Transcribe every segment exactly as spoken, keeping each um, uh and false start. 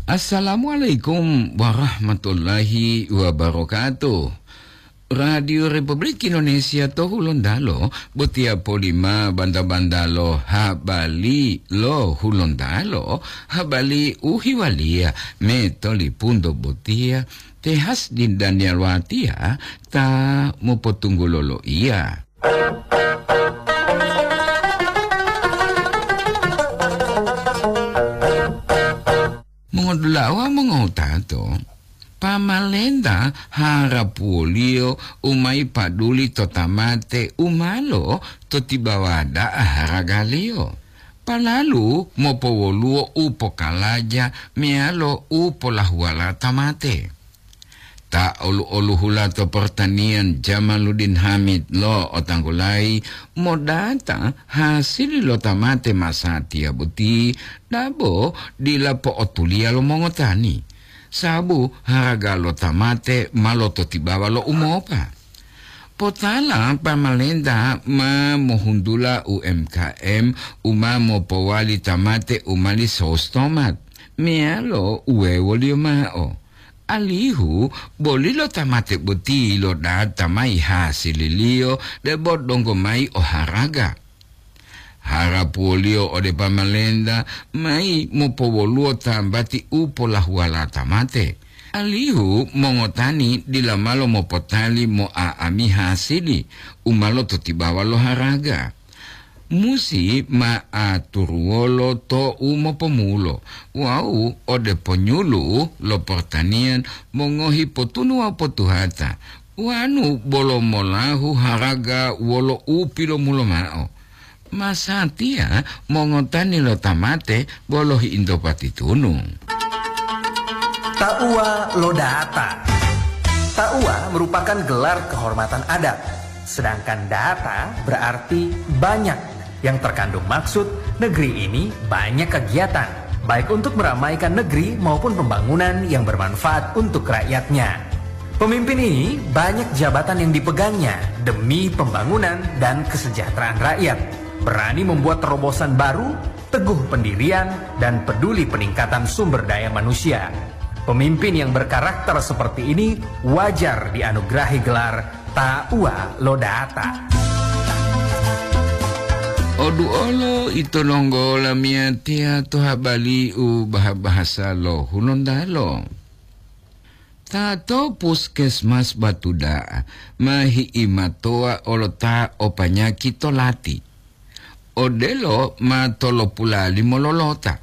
Assalamualaikum warahmatullahi wabarakatuh. Radio Republik Indonesia to Hulontalo, botiya polima banta-bantalo habari lo Hulontalo, habari u hiwaliya me tolipunto botiya, te Hasdin Daniel Watiya ta mopotunggulo loiya. Mongodula'a wawu mongowutato, pamalenta harapuwoliyo u ma yipaduli to tamate u malo to tibawa da'a haragaliyo, palalu mopowoluwo u pokalaja meyalo u polahuwala tamate. Ta olu-oluhula to pertanian Jamaluddin Hamid lo'otanggulayi modata hasili lo tamate masatiya boti, dabo dila po'otuliya lo mongotani, sababu haraga lo tamate ma lototibawa lo umopa. Potala pamalenta ma mohuntula U M K M u ma mopowali tamate u mali sous tomat, meyalo uwewoliyo ma'o. Alihu boli lo tamate boti lo data mayi hasililiyo debo donggo mayi o haraga. Harapuwoliyo ode pamalenta mayi mopowoluwo tambati u polahuwala tamate, alihu mongotani dila malo mopotali mo'a'ami hasili u ma lototibawa lo haraga. Musi ma aturuwolo to u mopomulo wawu ode ponyulu'u lo portaniyan mongohi potunu wawu potuhata, wanu bolo molahu haraga wolo u pilomulo ma'o. Masatiya mongotani lo tamate bolo hi'into patitunu. Tauwa lo data. Tauwa merupakan gelar kehormatan adat, sedangkan data berarti banyak. Yang terkandung maksud, negeri ini banyak kegiatan, baik untuk meramaikan negeri maupun pembangunan yang bermanfaat untuk rakyatnya. Pemimpin ini banyak jabatan yang dipegangnya demi pembangunan dan kesejahteraan rakyat. Berani membuat terobosan baru, teguh pendirian, dan peduli peningkatan sumber daya manusia. Pemimpin yang berkarakter seperti ini wajar dianugerahi gelar Tauwa lo Data. Oduolo ito longgo lamiyatiya to habari u baha-bahasa lo Hulontalo. Ta to puskesmas Batu Da'a ma hi'imatowa olo ta o panyaki to lati. Odelo ma tolopula limo lolota.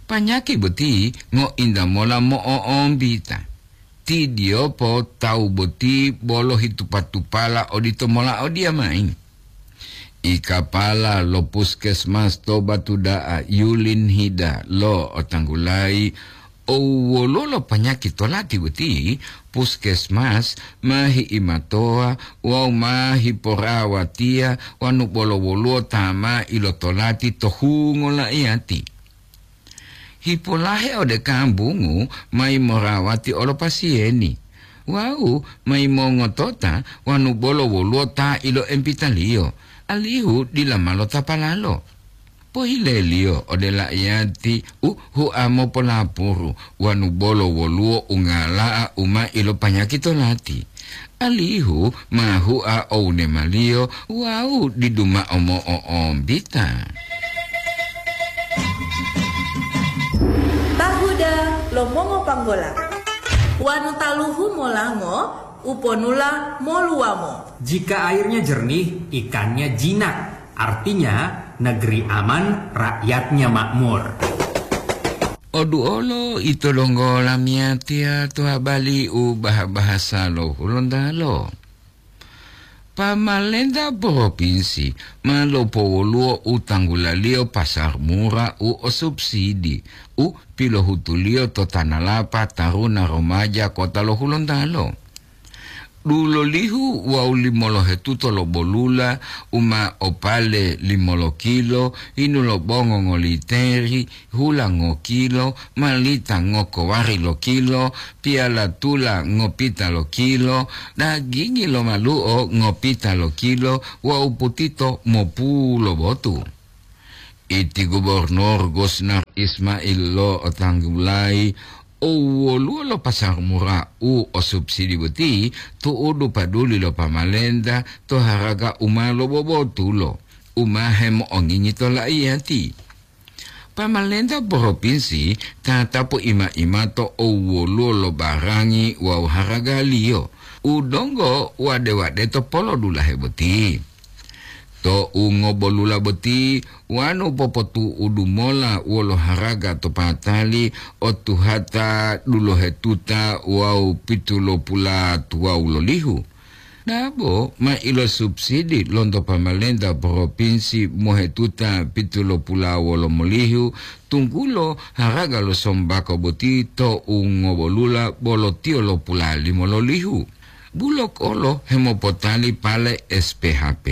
Panyaki boti ngointa mola mo'o'ombita. Tidiyopo tawu boti bolo hitupa-tupala odito mola odiyamayi. I kapala lo puskesmas to Batu Da'a Yulin Hida lo otanggulayi, o woluwo lo panyaki to lati boti, puskesmas ma hi'imatowa wawu ma hiporawatiya wanu bolo woluwo ta ma ilotolati to hungo la'iyati. Hipolahe ode kambungu mayi morawati olo pasiyeni, wawu mayi mongotota wanu bolo woluwo ta iloempitaliyo, alihu dila ma lotapalalo. Pohileliyo ode la'iyati u hua mopolapuru wanu bolo woluwo ungala'a u ma ilopanyaki to lati, alihu ma hua owunemaliyo wawu didu mao mo'o'ombita. Tahuda lo mongopanggola. Wanu taluhu molango, uponula moluwamo. Jika airnya jernih, ikannya jinak. Artinya, negeri aman, rakyatnya makmur. Oduolo ito donggo lamiyatiya to habari u baha-bahasa lo Hulontalo. Pamalenta propinsi ma lopowoluwo u tanggulaliyo pasar mura u o subsidi u pilohutuliyo to Tanalapa Taruna Romaja Kota lo Hulontalo. Dulolihu wawu limolohetuto lo bolula u ma opale limolokilo, hinu lo bongo ngoliteri, hula ngokilo, malita ngokowari lokilo, piyala tula ngopita lokilo, dagingi lo malu'o ngopita lokilo wawu putito mopulo botu. Iti Gubernur Gusnar Ismail lo'otanggulayi, o woluwo lo pasar murah u o subsidi boti tu'udu paduli lo pamalenta to haraga u ma lobobotulo, u ma hemo'ongingi to la'iyati. Pamalenta propinsi tatapu ima-imato o woluwo lo barangi wawu haragaliyo u donggo wade-wade to polodulahe boti. To u ngobolula boti, wanu popotu'udu mola wolo haraga to patali o tuhata dulohetuta wawu pitulopulatuwawu lolihu. Dabo ma ilosubsidi lonto pamalenta propinsi mohetuta pitulopulawolomolihu, tunggulo haraga lo sombako boti to u ngobolula bolo tiyo lopula limo lolihu. Bulok olo hemopotali pale S P H P,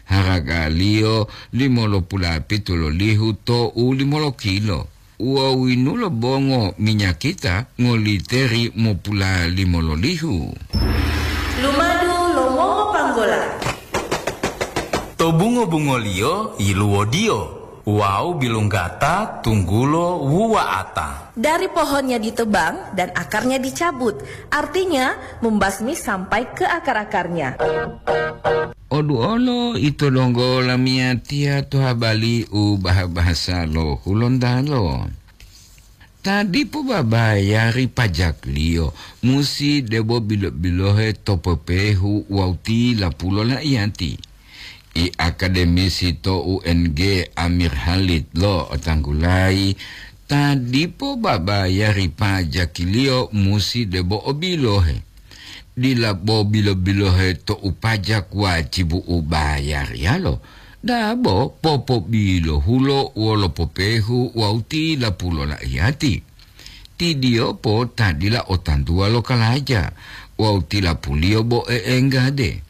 haragaliyo limolopulapitu lolihu to u limolokilo. Wawu yinulo bongo minyakita ngoliteri mopula limololihu. Lumadu lo mongo panggola. To bungo-bungoliyo yiluwodiyo wawu bilunggata tunggulo wuwa'ata. Dari pohonnya ditebang dan akarnya dicabut, artinya membasmi sampai ke akar-akarnya. Oduolo ito donggo lamiyatiya to habali u baha-bahasa lo Hulontalo. Ta dipo babayari pajakliyo musi debo bilo-bilohe to pepehu wawu tilapulo la'iyati. I akademisi to U N G Amir Halid lo'otanggulayi, ta dipo babayari pajakiliyo musi debo o bilohe. Dila bo bilo-bilohe to u pajak wajibu u bayariyalo, dabo popobilohulo wolo popehu wawu tilapulo la'iyati. Tidiyopo ta dila o tantuwa lo kalaja wawu tilapuliyo bo e'enggade.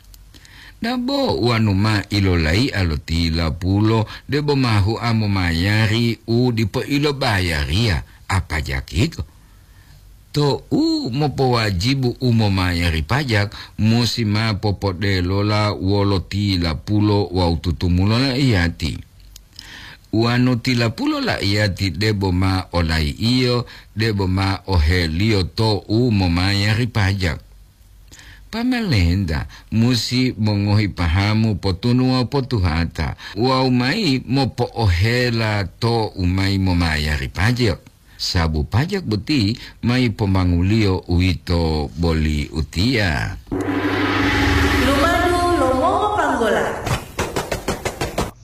Dabo wanu ma ilolaiya lo tilapulo debo ma hua momayari u dipo ilobayariya, a pajak yito. To u mopowajibu u momayari pajak musi ma popodelola wolo tilapulo wawu tutumulo la'iyati. Wanu tilapulo la'iyati debo ma olai'iyo, debo ma oheliyo to u momayari pajak. Pamalenta musi mongohi pahamu potunuwa potuhata wawu mayi mopo'ohela to u mayi momayari pajak. Sabu pajak boti mayi pomanguliyo uwito boli utiya. Lumadu lo mongo panggola.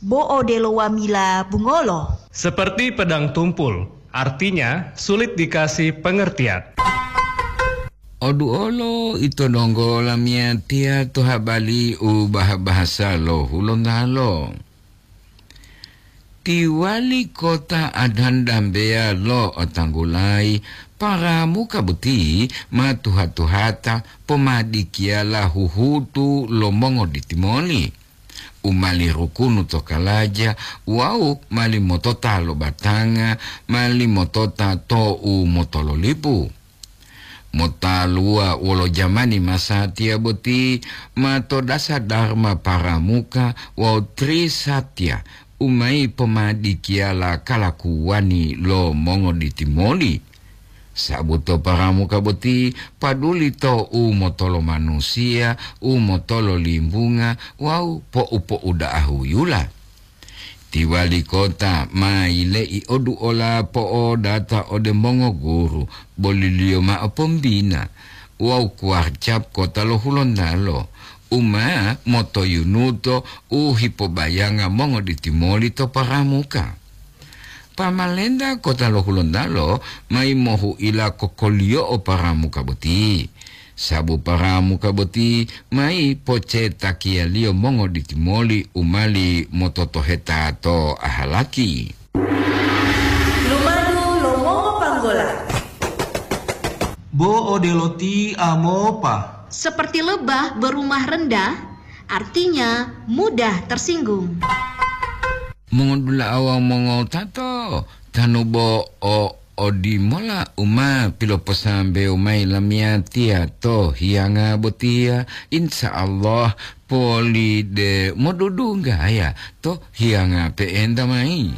Bo odelo wamila bungolo. Seperti pedang tumpul, artinya sulit dikasih pengertian. Oduolo ito donggo lamiyatiya to habali u baha-bahasa lo Hulontalo. Ti wali kota Adhan Dambeya lo'otanggulayi paramuka boti ma tuha-tuhata pomadikiyala huhutu lo mongoditimoli u mali rukunu to kalaja wawu mali motota lo batanga, mali motota to u motololipu. Motaluwa wolo jamani masatiya boti, ma to dasa Dharma Paramuka wawu Trisatya u mayi pomadikiyala kalakuwani lo mongoditimoli. Sabu to Paramuka boti paduli to u motolo manusiya, u motolo limbunga wawu po'u-po'uda'a huyula. Ti wali kota ma yile'i oduola po'odata ode mongoguru, boliliyo ma'o pombina wawu kuwarcap kota lo Hulontalo, u ma motoyunuto u hipobayanga mongoditimoli to Paramuka. Pamalenta kota lo Hulontalo mayi mohu'ila kokoliyo'o Paramuka boti. Sabu Paramuka boti mayi pocetakiyaliyo mongoditimoli u mali mototoheta to ahalaki. Lumadu lo mongo panggola. Bo odelo ti amopa. Seperti lebah berumah rendah, artinya mudah tersinggung. Mongodula'a wawu mongotato, tanu bo o odimola u ma piloposambewo mayi lamiyatiya to hiyanga botiya, insya Allah poli de modudunggaya to hiyanga pe'enta mayi.